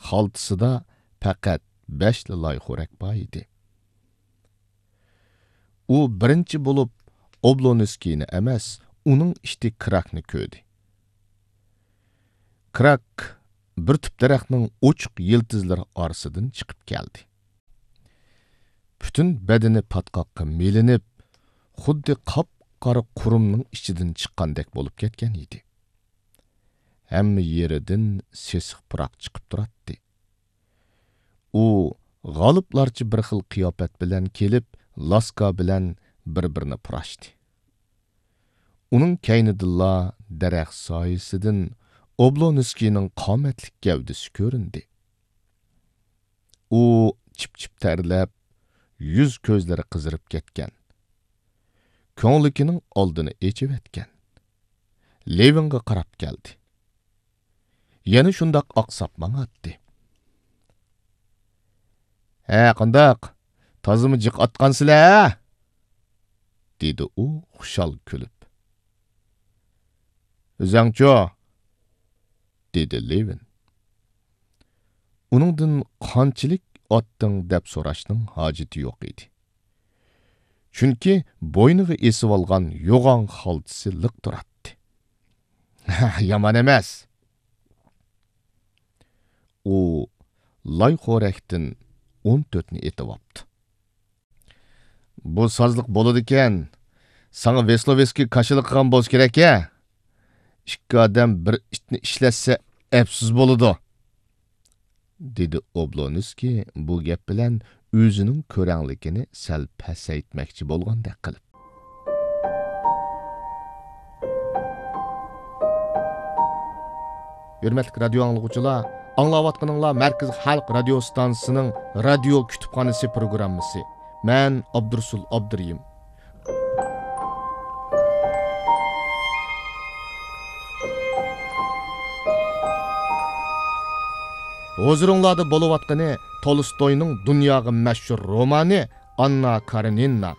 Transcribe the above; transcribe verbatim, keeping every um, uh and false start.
خالتىسىدا پەقەت بەشلا لايخورەك بار ئىدى. ئۇ بىرىنچى بولۇپ ئوبلونسكىينى ئەمەس، ئۇنىڭ ئىتى كراكنى كۆردى. كراك بىر تۈپ دەرەخنىڭ ئوچۇق يىلتىزلىرى ئارىسىدىن چىقىپ كەلدى. پۈتۈن بەدىنى پاتقاققا مىلىنىپ، خۇددى قاپقارا قۇرۇمنىڭ ئىچىدىن چىققاندەك بولۇپ كەتكەن ئىدى. ھەممە يېرىدىن سېسىق پۇراق چىقىپ تۇراتتى. ئۇ غالىپلارچە بىر خىل قىياپەت بىلەن كېلىپ، لاسكا بىلەن بىر-بىرىنى پۇراشتى. ئۇنىڭ كەينىدىنلا دەرەخ سايىسىدىن ئوبلونسكىينىڭ قامەتلىك گەۋدىسى كۆرۈندى. ئۇ چىپ-چىپ تەرلەپ، يۈز-كۆزلىرى قىزىرىپ كەتكەن. كۆڭلىكىنىڭ ئالدىنى ئېچىۋەتكەن. لېۋىنغا قاراپ كەلدى. يەنە شۇنداق ئاقساپ ماڭاتتى. «ھە، قانداق؟ تازىمۇ جىق ئاتقانسىلە، ھە؟» دېدى ئۇ خۇشال كۈلۈپ. «ئۆزەڭچۇ؟» دېدى لېۋىن. ئۇنىڭدىن «قانچىلىك ئاتتىڭ؟» دەپ سوراشنىڭ ھاجىتى يوق ئىدى. چۈنكى بوينىغا ئېسىۋالغان يوغان خالتىسى لىق تۇراتتى. «يامان ئەمەس.» ئۇ لايخورەكتىن ئون تۆتنى ئېتىۋاپتۇ. «بۇ سازلىق بولىدىكەن، ساڭا ۋېسلوۋېسكىي كاشىلا قىلغان بولسا كېرەك-ھە؟ ئىككى ئادەم بىر ئىتنى ئىشلەتسە ئەپسۇس بولىدۇ.» دېدى ئوبلونسكىي بۇ گەپ بىلەن ئۆزىنىڭ كۆرەڭلىكىنى سەل پەسەيتمەكچى بولغاندەك قىلىپ. ھۆرمەتلىك رادىيو ئاڭلىغۇچىلار، ئاڭلاۋاتقىنىڭلار مەركىزىي خەلق رادىيو ستانسىسىنىڭ رادىيو كۇتۇپخانىسى پروگراممىسى. مەن ئابدۇرۇسۇل ئابدۇرېھىم. ھۇزۇرۇڭلاردا بولۇۋاتقىنى تولستوينىڭ دۇنياغا مەشھۇر رومانى ئاننا كارېنىنا.